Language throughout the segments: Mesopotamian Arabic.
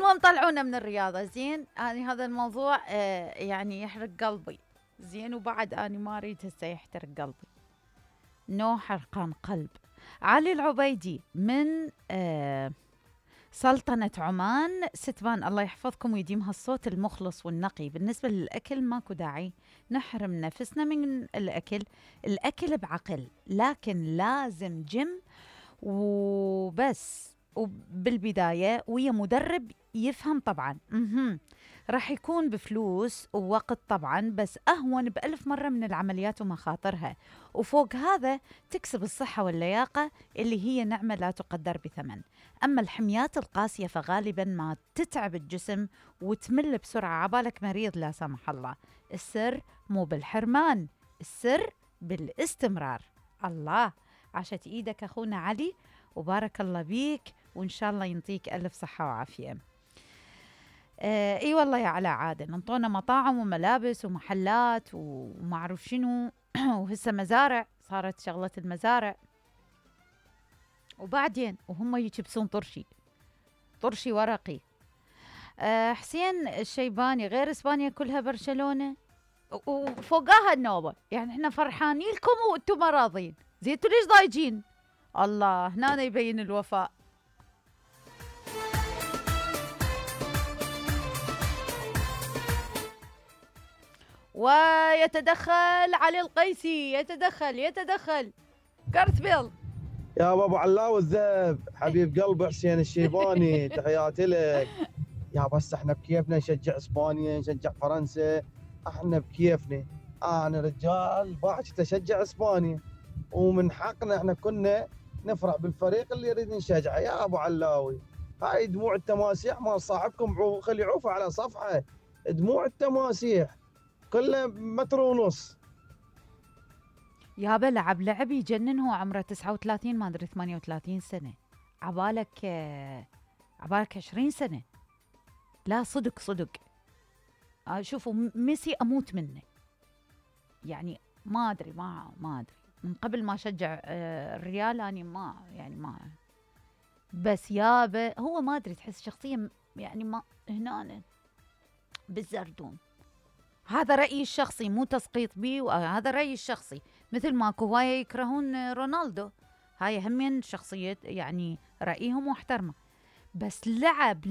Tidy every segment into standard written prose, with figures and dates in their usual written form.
المهم طلعونا من الرياضة. زين أنا هذا الموضوع يعني يحرق قلبي. زين وبعد أنا ما أريد هسه يحترق قلبي. نو حرقان قلب. علي العبيدي من سلطنة عمان ستبان، الله يحفظكم ويديم هالصوت المخلص والنقي. بالنسبة للأكل ماكو داعي نحرم نفسنا من الأكل بعقل، لكن لازم جيم وبس، وبالبداية ويا مدرب يفهم طبعا. راح يكون بفلوس ووقت طبعا، بس أهون بألف مرة من العمليات ومخاطرها، وفوق هذا تكسب الصحة واللياقة اللي هي نعمة لا تقدر بثمن. أما الحميات القاسية فغالبا ما تتعب الجسم وتمل بسرعة، عبالك مريض لا سمح الله. السر مو بالحرمان، السر بالاستمرار. الله، عاشت إيدك أخونا علي وبارك الله بيك، وإن شاء الله ينطيك ألف صحة وعافية. اي والله يا علاء عادل، انطونا مطاعم وملابس ومحلات وما اعرف شنو وهسه مزارع، صارت شغلة المزارع، وبعدين وهم يكبسون طرشي ورقي. حسين الشيباني، غير اسبانيا كلها برشلونة وفوقاها النوبة، يعني احنا فرحانين لكم وانتم ما راضين. زين انتوا ليش ضايجين؟ الله هنا يبين الوفاء. ويتدخل علي القيسي، يتدخل كارث بيل. يا ابو علاوي الذهب، حبيب قلبي حسين الشيباني، تحياتي لك. يا بس احنا بكيفنا نشجع اسبانيا، نشجع فرنسا، احنا بكيفنا. انا رجال باحث اشجع اسبانيا، ومن حقنا احنا كنا نفرح بالفريق اللي يريد نشجعه. يا ابو علاوي، هاي دموع التماسيح مال صاحبكم خلي عوفه على صفحه. دموع التماسيح كله 1.5 متر. يابا لعب يجنن، هو عمره 39 ما ادري 38 سنة، عبالك 20 سنة. لا صدق شوفوا ميسي اموت منه، يعني ما ادري من قبل ما شجع الريال اني ما بس يابا هو ما ادري، تحس شخصية يعني ما هنا بالزردون. هذا رأيي الشخصي، مو تسقيط بي، وهذا رأيي الشخصي. مثل ماكو هواية يكرهون رونالدو، هاي همين شخصية يعني رأيهم واحترمه، بس لعب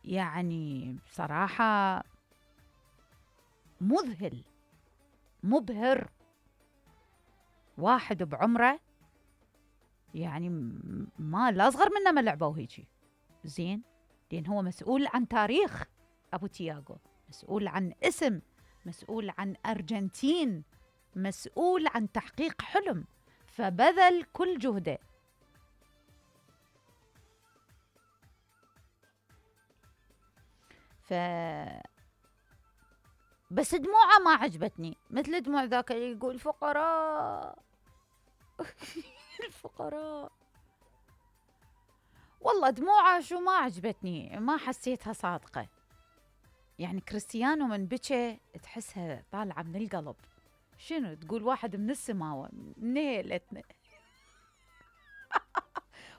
يعني بصراحة مبهر. واحد بعمره يعني ما لا أصغر منه ما لعبوا هيجي. زين لأن هو مسؤول عن تاريخ أبو تياغو، مسؤول عن اسم، مسؤول عن أرجنتين، مسؤول عن تحقيق حلم، فبذل كل جهده. بس دموعه ما عجبتني، مثل دموع ذاك اللي يقول فقراء الفقراء. والله دموعه شو ما عجبتني، ما حسيتها صادقة. يعني كريستيانو من بكى تحسها طالعة من القلب، شنو تقول واحد من السماوة من هيلتنا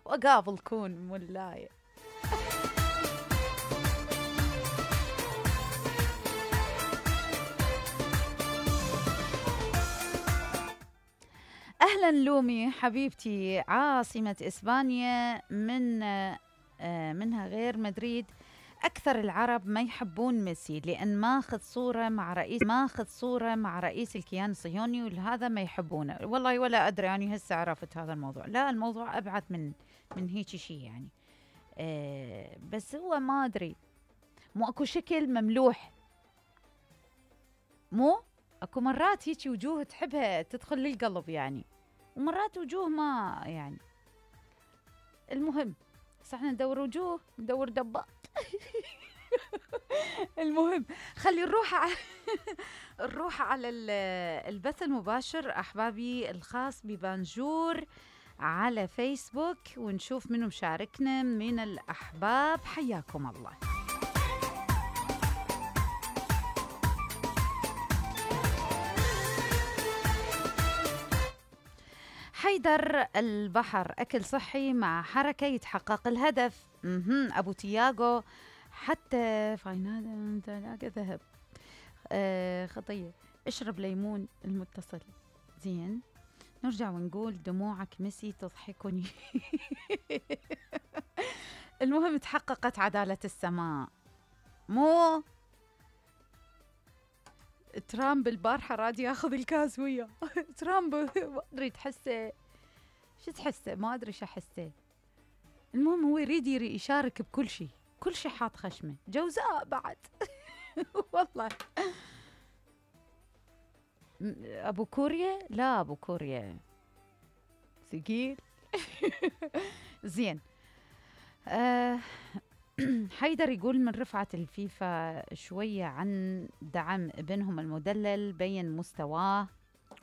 وقابل كون مولاي. أهلا لومي حبيبتي، عاصمة إسبانيا منها غير مدريد. أكثر العرب ما يحبون ميسي لأن ماخذ صورة مع رئيس الكيان الصهيوني، ولهذا ما يحبونه. والله ولا أدري، يعني هسه عرفت هذا الموضوع. لا الموضوع أبعد من هيك شيء يعني. بس هو ما أدري، مو أكو شكل مملوح، مو أكو مرات هيك وجوه تحبها تدخل للقلب يعني، ومرات وجوه ما يعني. المهم احنا ندور وجوه، ندور دبات المهم خلي نروح على البث المباشر أحبابي الخاص ببانجور على فيسبوك، ونشوف منو مشاركنا من الأحباب. حياكم الله. حيدر البحر أكل صحي مع حركة يتحقق الهدف. أبو تياغو حتى فاينال تلاقى ذهب. خطية. اشرب ليمون المتصل. زين، نرجع ونقول دموعك ميسي تضحكني. المهم تحققت عدالة السماء. مو ترامب البارحة راد ياخذ الكاس وياه. ترامب ما ادري تحسه شو تحسه، ما ادري شو احسه. المهم هو يريد يشارك بكل شيء، كل شيء حاط خشمه، جوزاء بعد. والله ابو كوريا، لا ابو كوريا ثقيل. زين. حيدر يقول من رفعة الفيفا شوية عن دعم ابنهم المدلل، بين مستواه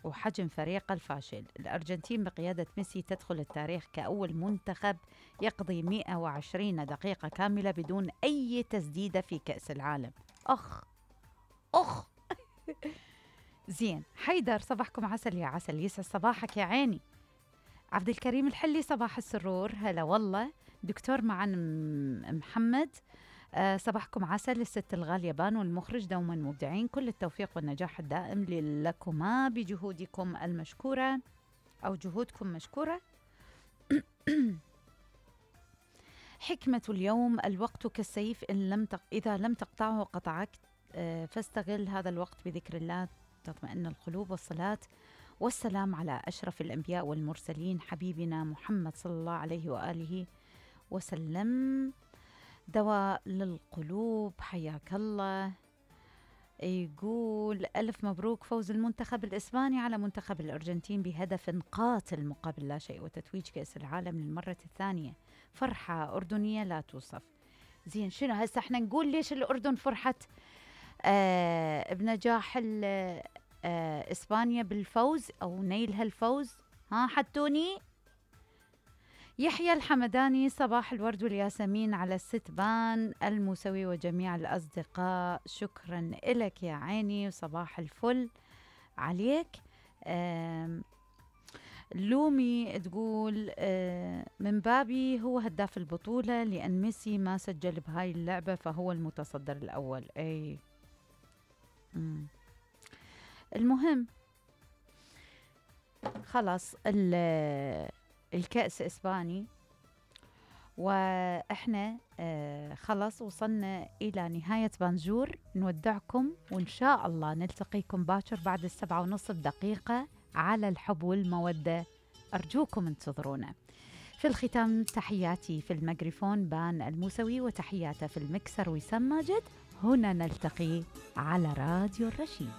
وحجم فريقه الفاشل. الأرجنتين بقيادة ميسي تدخل التاريخ كأول منتخب يقضي 120 دقيقة كاملة بدون أي تسديدة في كأس العالم. أخ. زين. حيدر صباحكم عسل يا عسل، يسعد صباحك يا عيني. عبد الكريم الحلي صباح السرور، هلا والله. دكتور معن محمد، صباحكم عسل. الست الغالية بان والمخرج دوما مبدعين، كل التوفيق والنجاح الدائم لكما بجهودكم المشكورة أو جهودكم مشكورة. حكمة اليوم: الوقت كالسيف إذا لم تقطعه قطعك، فاستغل هذا الوقت بذكر الله تطمئن القلوب، والصلاة والسلام على أشرف الأنبياء والمرسلين حبيبنا محمد صلى الله عليه وآله وسلم، دواء للقلوب. حياك الله. يقول ألف مبروك فوز المنتخب الإسباني على منتخب الأرجنتين بهدف قاتل مقابل لا شيء، وتتويج كأس العالم للمرة الثانية. فرحة أردنية لا توصف. زين، شنو هسه احنا نقول ليش الأردن فرحت بنجاح إسبانيا بالفوز أو نيل هالفوز؟ ها حتوني. يحيى الحمداني صباح الورد والياسمين على الست بان الموسوي وجميع الأصدقاء، شكرا إلك يا عيني وصباح الفل عليك. لومي تقول من بابي هو هداف البطولة، لأن ميسي ما سجل بهاي اللعبة فهو المتصدر الأول. أي المهم خلاص الكأس إسباني، وإحنا خلاص وصلنا إلى نهاية بانجور. نودعكم وإن شاء الله نلتقيكم باكر بعد 7:30 دقيقة على الحب والمودة. أرجوكم انتظرونا. في الختام تحياتي في الميكروفون بان الموسوي، وتحياته في المكسر وسام ماجد. هنا نلتقي على راديو الرشيد.